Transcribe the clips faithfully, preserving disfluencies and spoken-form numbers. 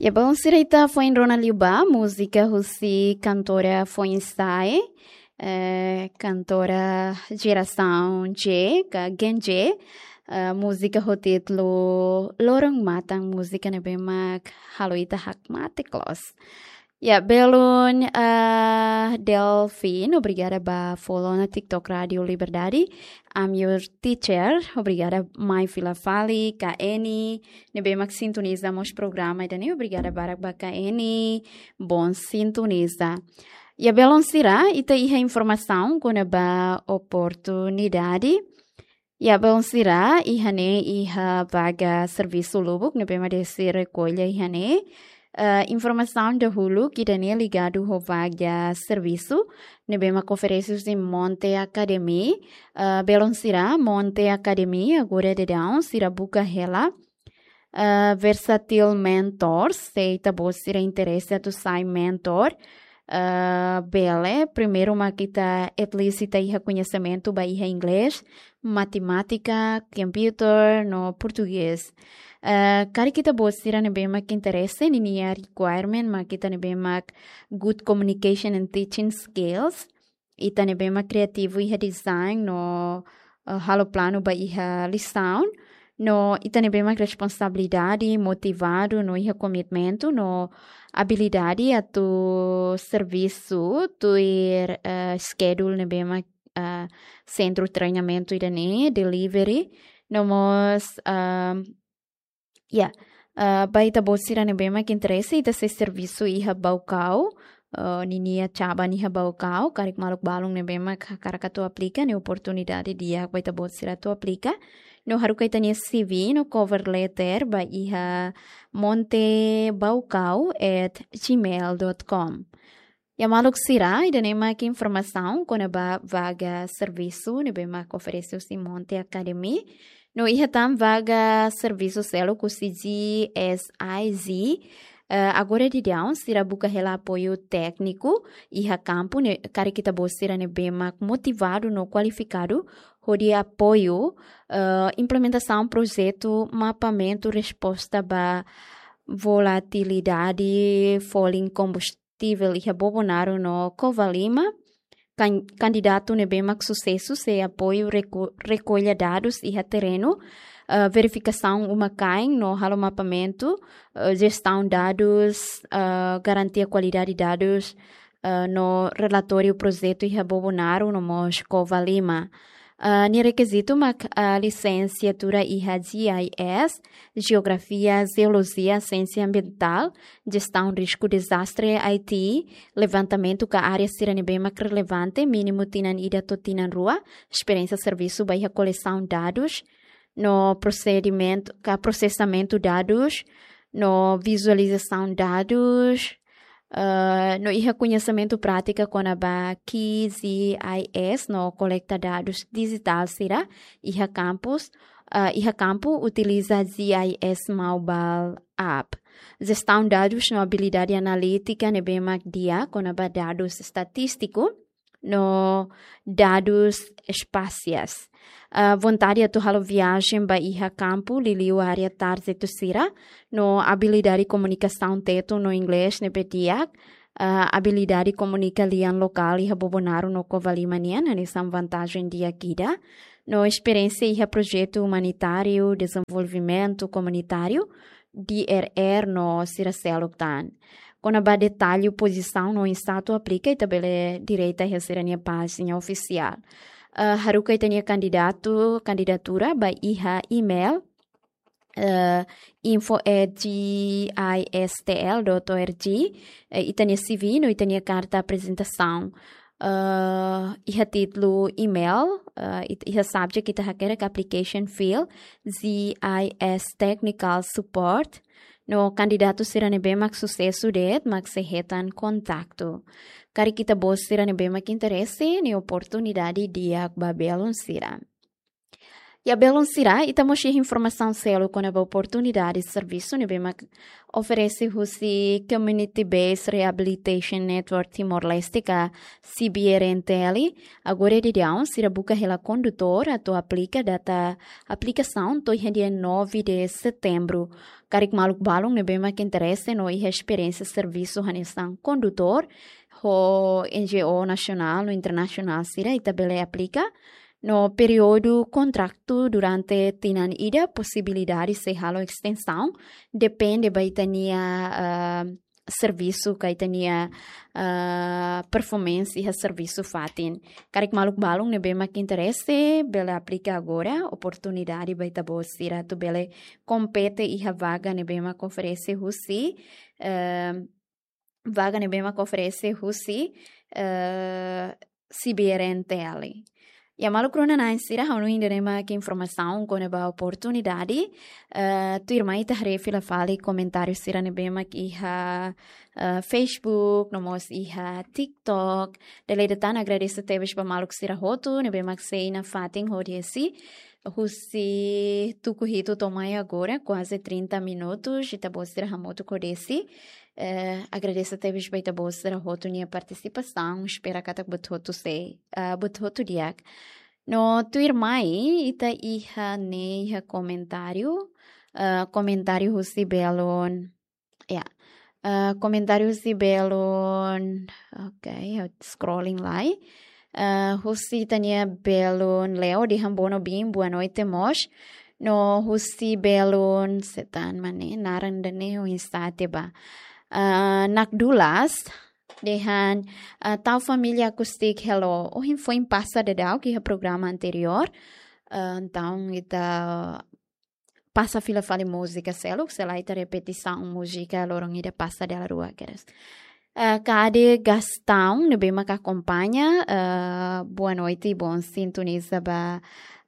Ya, belun sira, ita foin rona liu ba múzika husi kantora foin-sa'e, eh, kantora jerasaun Z, ka Gen Z, eh, múzika ho títulu Loron Matan, múzika ne'ebé mak halo ita hakmatek loos. Ya, belun, eh, Delfin, obrigada ba follow ona TikTok Rádio Liberdade. I'm your teacher. Obrigada mai fila fali, Ka Eni, ne'ebé mak sintoniza mós programa ida-ne'e. Obrigada barak ba Ka Eni, bom sintoniza. Ya, belun sira, ita iha informasaun kona-ba oportunidade. Ya, belun sira, iha ne'e iha vaga servisu lubuk ne'ebé mak desi rekolla iha ne'e. Eh, informasaun dahuluk ida-ne'e ligadu ho vaga servisu ne'ebé mak oferese husi Monte Academy. Eh, belun sira, Monte Academy agora daudaun sira buka hela, eh, Versatile Mentors, se ita-boot sira interese atu sai mentor, eh, bele, primeiru mak ita at least ita iha koñesimentu ba iha inglés, matemátika, computer, no portugés. Eh, karik ita-boot sira ne'ebé mak interese, ninia requirement mak ita ne'ebé mak good communication and teaching skills, ita ne'ebé mak kriativu iha design no, eh, halo planu ba iha lisaun, no ita ne'ebé mak responsabilidade, motivadu no iha komitmentu no abilidade atu servisu tuir, eh, schedule ne'ebé mak, eh, sentru treinamentu ida-ne'e, delivery, no mós, eh, ya, eh, ba ita-boot sira ne'ebé mak interese, ita sei servisu iha Baucau, eh, ninia chaban iha Baucau, karik maluk balun ne'ebé mak hakarak atu aplika, ne'e oportunidade di'ak ba ita-boot sira atu aplika. No haruka ita-nia C V no cover letter ba iha montebaucau at gmail dot com. Ya, maluk sira, ida-ne'e mak informasaun kona-ba vaga servisu ne'ebé mak oferese husi Monte Academy. No iha tan vaga servisu seluk husi G S I Z. Eh, agora daudaun sira buka hela apoiu tékniku iha kampu, ne'e karik ita-boot sira ne'ebé mak motivadu no kualifikadu hodi apoiu, eh, implementasaun projetu mapeamentu resposta ba volatilidade folin kombustível iha Bobonaro no Covalima. Kan-, kandidatu ne'ebé mak susesu sei apoiu reku-, rekolla dadus iha terrenu, eh, verifikasaun uma-kain no halo mapeamentu, eh, jestaun dadus, eh, garantia kualidade dadus, eh, no relatóriu projetu iha Bobonaro no mós Covalima. Eh, nia rekizitu mak, eh, lisensiatura iha G I S, Jeografia, Jeolojia, Siénsia Ambientál, Jestaun Risku Dezastre, I T, levantamentu ka área sira ne'ebé mak relevante, mínimu tinan ida to'o tinan rua, esperiénsia servisu ba iha kolesaun dadus, no prosedimentu, ka prosesamentu dadus, no vizualizasaun dadus, eh, no iha koñesimentu prátika kona-ba Q G I S no kolekta dadus dijitál sira iha kampus, eh, iha kampu utiliza G I S Mobile App. Jestaun dadus no abilidade analítika ne'ebé mak di'ak kona-ba dadus estatístiku no dadus espasiais. Ah, vontade atu halo viajen ba iha kampu, liuliu área tarjetu sira, no abilidade komunikasaun Tetun no Inglés ne'ebé di'ak, ah, abilidade komunika lian lokál iha Bobonaro no Covalima nian, hanesan vantajen di'ak ida, no esperiénsia iha projetu umanitáriu, dezenvolvimentu komunitáriu, D R R no sira seluk tan. Kona-ba detalle pozisaun no oinsá atu aplika, ita bele direta iha sira-nia pájina ofisiál. Eh, haruka ita-nia kandidatu, kandidatura ba iha email, eh, info at G I S T L dot O R G, eh, ita-nia C V no ita-nia karta aprezentasaun. Eh, iha títulu email, eh, it-, iha subject ita hakerek application fill, G I S Technical Support. No kandidatu sira ne'ebé mak susesu de'it mak sei hetan kontaktu. Karik ita-boot sira ne'ebé mak interese, ne'e oportunidade di'ak ba belun sira. Ya, belun sira, ita mós iha informasaun seluk kona-ba oportunidade servisu ne'ebé mak oferese husi Community Based Rehabilitation Network Timor-Leste ka C B R N T L. Agora daudaun sira buka hela kondutór atu aplika, data aplikasaun to'o iha dia nove de setembro. Karik maluk balun ne'ebé mak interese no iha esperiénsia servisu hanesan kondutór ho N G O nasionál no internasionál sira, ita bele aplika. No períodu kontratu durante tinan ida, posibilidade sei halo estensaun, depende ba ita-nia, ah, servisu ka ita-nia, ah, performance iha servisu fatin. Karik maluk balun ne'ebé mak interese, bele aplika agora, oportunidade ba ita-boot sira atu bele kompete iha vaga ne'ebé mak oferese husi, eh, vaga ne'ebé mak oferese husi, eh, C B R N T L. Ya, maluk rona-na'in sira, ha'u hanoin ida-ne'e mak informasaun kona-ba oportunidade. Eh, tuirmai ita haree fila fali komentáriu sira ne'ebé mak iha, eh, Facebook, no mós iha TikTok. Dala ida tan agradese tebes ba maluk sira hotu ne'ebé mak sei nafatin hodi husi tuku hitu to'o mai agora, kuaze trinta minutos, ita-boot sira hamutuk ho Desi. Eh, agradese tebes ba ita-boot sira hotu nia partisipasaun, espera katak buat hotu sei, ah, buat hotu di'ak. No tuirmai, ita iha ne'e iha komentáriu, eh, komentáriu husi belun, ya, eh, komentáriu husi belun, oke, ha'u scrolling lai. Eh, husi ita-nia belun Leo dehan bono bin, boa noite mós. No husi belun, se tan mane, naran ida-ne'e oinsá atu ba. Eh, Nakdulas, dehan, eh, tau família Acústica, hello. Ohin foin pasa daudauk iha programa anteriór. Eh, entaun, ita pasa fila fali múzika seluk, se lae ita repetisaun múzika loron ida pasa dala rua kedas. Eh, Kade Gastão, ne'ebé mak akompaña, eh, boa noite, bom sintoniza ba,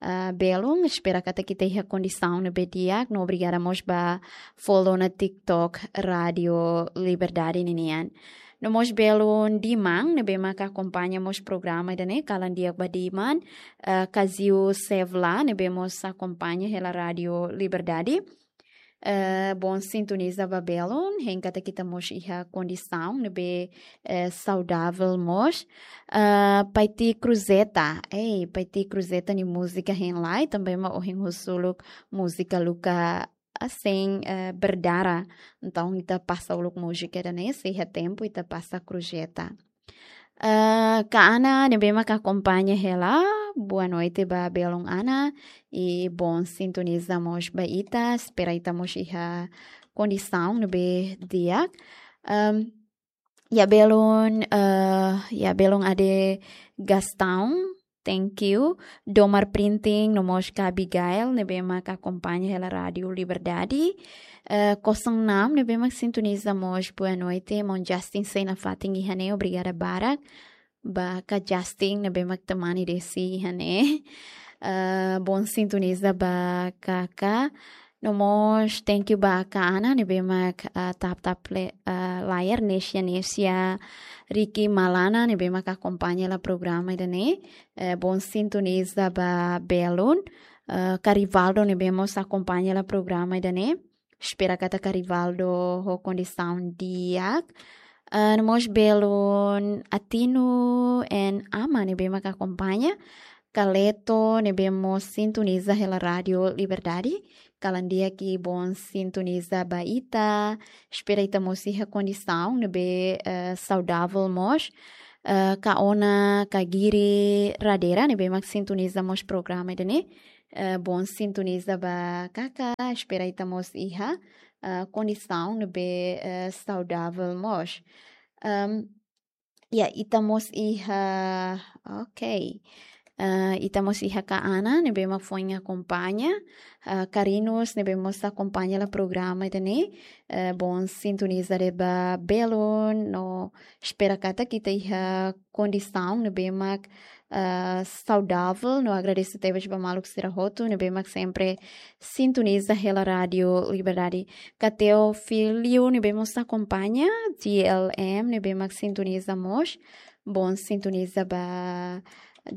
eh, belun, espera katak ita iha kondisaun ne'ebé di'ak, no obrigada mós ba follow ona TikTok Rádio Liberdade ninian. No mós belun Diman, ne'ebé mak akompaña mós programa ida-ne'e, kalan di'ak ba Diman, eh, Kaziu Sevla, ne'ebé mós akompaña hela Rádio Liberdade. Eh, bom sintoniza ba belun, hein katak ita mós iha kondisaun ne'ebé, eh, saudavel mós. Eh, Paiti Cruzeta, ei, Paiti Cruzeta nia múzika hein lai, tanba ema ohin husu uluk múzika Luka, ah, sein, eh, berdarah. Entaun ita pasa uluk múzika ida-ne'e, se iha tempu ita pasa Cruzeta. Eh, Ka Ana ne'ebé mak akompaña hela, boa noite ba belun Ana, i bom sintoniza mós ba ita, espera ita mós iha kondisaun ne'ebé di'ak. Em, ya belun, eh, ya belun Ade Gastão, thank you. Domar Printing, no mós Ka Abigail, ne'ebé mak akompaña hela Rádio Liberdade. Eh, Kosong Enam, ne'ebé mak sintoniza mós, boa noite. Maun Justin sei nafatin iha ne'e, obrigada barak. Ba Ka Justin, ne'ebé mak temani Desi iha ne'e. Eh, bom sintoniza ba Kaka. No mós, thank you ba Ka Ana, ne'ebé mak, eh, tap-tap le-, eh, layar, Nesia, Nesia, Ricky Malana, ne'ebé mak akompaña hela programa ida-ne'e. Eh, bom sintoniza ba belun. Eh, Ka Rivaldo, ne'ebé mós akompaña hela programa ida-ne'e. Espera katak Ka Rivaldo ho kondisaun di'ak. Eh, no mós belun Atinu en Ama, ne'ebé mak akompaña. Kaleto, ne'ebé mós sintoniza hela Rádio Liberdade. Kalan di'ak i bom sintoniza ba ita. Espera ita mós iha kondisaun ne'ebé, eh, saudavel mós. Eh, Ka Ona, Ka Giri Radera, ne'ebé mak sintoniza mós programa ida-ne'e. Eh, bom sintoniza ba Kaka, espera ita mós iha, eh, kondisaun ne'ebé, eh, saudavel mós. Em, ya, ita mós iha, ok. Eh, ita mós iha Ka Ana, ne'ebé mak foin akompaña. Eh, Ka Rinus, ne'ebé mós akompaña hela programa ida-ne'e. Eh, bom sintoniza de'it ba belun, no espera katak ita iha kondisaun ne'ebé mak, eh, saudavel, no agradese tebes ba maluk sira hotu ne'ebé mak sempre sintoniza hela Rádio Liberdade. Ka Teofilio, ne'ebé mós akompaña, T L M, ne'ebé mak sintoniza mós, bom sintoniza ba,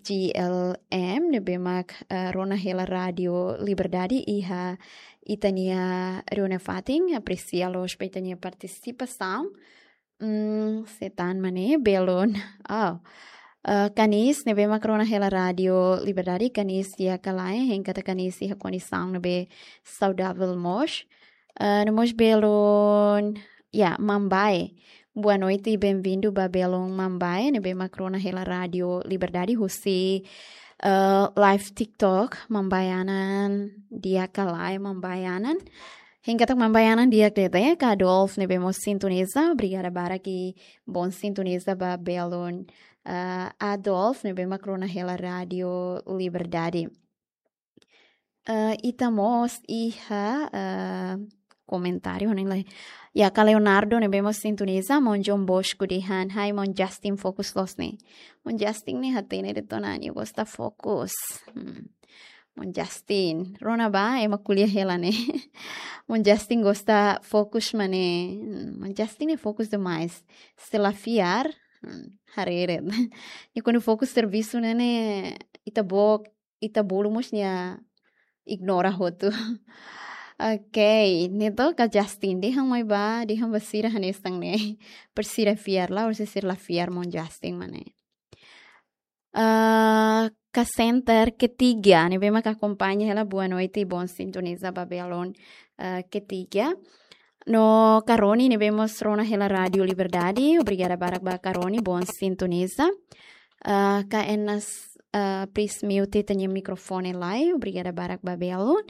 G L M, ne'ebé mak, eh, rona hela Rádio Liberdade iha ita-nia reuniaun fatin, apresia loos ba ita-nia partisipasaun. Hmm, se tan mane, belun. Oh. Eh, Kanis, ne'ebé mak rona hela Rádio Liberdade, Kanis di'ak ka lae, hein katak Kanis iha kondisaun ne'ebé saudavel mós. Eh, no mós belun, ya, Mambae. Boa noite e bem-vindo ba belun Mambae, ne'ebé mak rona hela Rádio Liberdade husi, eh, live TikTok, Mambae Anan, di'ak ka lae Mambae Anan. Hein katak Mambae Anan di'ak de'it, eh, ka Adolf ne'ebé mós sintoniza, obrigada barak i bon sintoniza ba belun, eh, Adolf ne'ebé mak rona hela Rádio Liberdade. Eh, ita mós iha, eh, komentáriu, ne'e lai. Ya, ka Leonardo ne'ebé mós sintoniza, maun John Bosco dehan, hai maun Justin fokus loos ne'e. Maun Justin ne'e hatene de'it ona, nia gosta fokus. Hmm. Maun Justin, rona ba, ema ko'alia hela ne'e. Maun Justin gosta fokus mane. Hmm, maun Justin ne'e fokus demais. Se la fiar, hmm, haree de'it. Nia kuandu fokus servisu ne'e, ne'e, ita-boot, ita bolu mós nia ignora hotu. Ok, ne'e to'o ka Justin, dehan mai ba, dehan ba sira hanesan ne'e. Para sira fiar lae, ou se sira la fiar maun Justin mane. Ah, ka Center Ketiga, ne'ebé mak akompaña hela, boa noite i bon sintoniza ba belun, ah, Ketiga. No ka Roni ne'ebé mós rona hela Rádio Liberdade, obrigada barak ba ka Roni, bon sintoniza. Ah, ka Enas, ah, please mute ita-nia mikrofone lai, obrigada barak ba belun.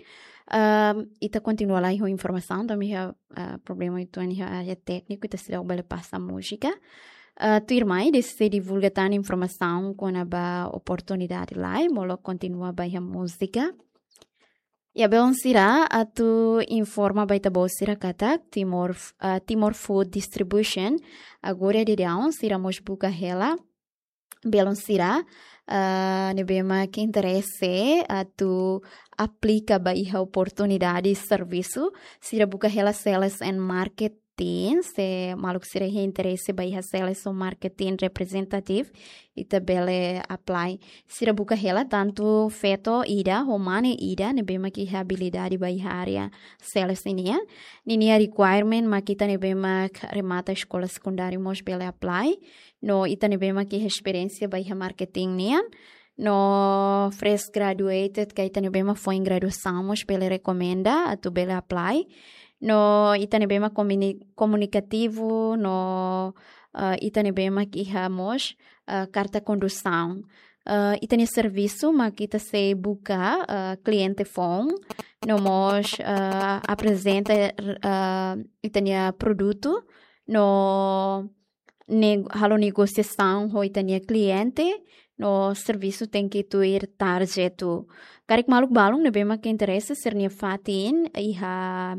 Ah, ita kontinua lai ho informasaun, tanba iha, ah, problema uitoan iha área tékniku, ita seidauk bele pasa múzika. Ah, tuirmai, desde divulga tan informasaun kona-ba oportunidade lai, molok kontinua ba iha múzika. Ya, belun sira, atu informa ba ita-boot sira katak Timor, ah, Timor Food Distribution, agora daudaun sira mós buka hela belun sira, ah, ne'ebé mak interese atu aplika ba iha oportunidade servisu, sira buka hela Sales and Marketing, se maluk sira iha interese ba iha Sales and Marketing Representative, ita bele apply. Sira buka hela tantu feto ida ho mane ida ne'ebé mak iha abilidade ba iha área sales ninian. Ninia requirement mak ita ne'ebé mak remata eskola sekundáriu mós bele apply. No ita ne'ebé mak iha esperiénsia ba iha marketing nian. No fresh graduated ka ita ne'ebé mak foin graduasaun mós bele rekomenda atu bele apply. No ita ne'ebé mak komuni-, komunikativu, no, eh, ita ne'ebé mak iha mós, eh, karta kondusaun. Eh, ita-nia servisu mak ita sei buka, eh, kliente foun, no mós, eh, aprezenta, eh, ita-nia produtu, no neg-, halo negosiasaun ho ita-nia kliente, no servisu tenke tuir target. Karik maluk balun ne'ebé mak interese, sira-nia fatin iha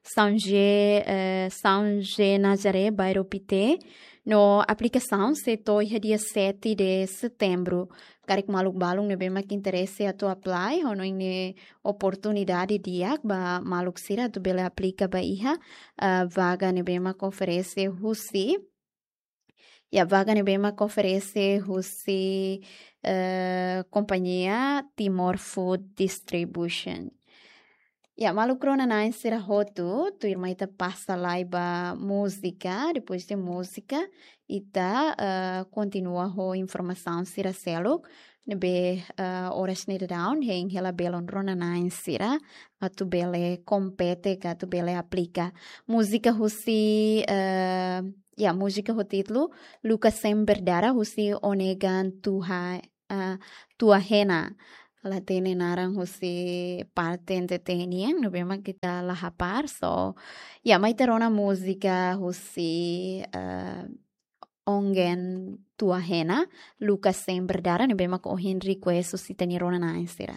São José, eh, São José Nazaré, bairru Pité, no aplikasaun sei to'o iha dia sete de setembro. Karik maluk balun ne'ebé mak interese atu apply, ho hanoin ne'e oportunidade di'ak ba maluk sira atu bele aplika ba iha, eh, vaga ne'ebé mak oferese husi, ya, vaga ne'ebé mak oferese husi, eh, kompañia Timor Food Distribution. Ya, maluk rona-na'in sira hotu, tuirmai ita pasa lai ba múzika, depois de múzika, ita, eh, kontinua ho informasaun sira seluk, ne'ebé, eh, oras ne'e daudaun, hein hela belun rona-na'in sira, atu bele kompete ka atu bele aplika. Múzika husi, eh, ya, múzika ho títulu Luka Sem Berdara husi Onegan Tuha, eh, Tuahena. La hatene naran husi parte N T T nian, ne'ebé mak ita la hapara, so, ya, mai ita rona múzika husi, eh, Onegan Tuahena, Luka Sem Berdara, ne'ebé mak ohin request husi ita-nia rona-na'in sira.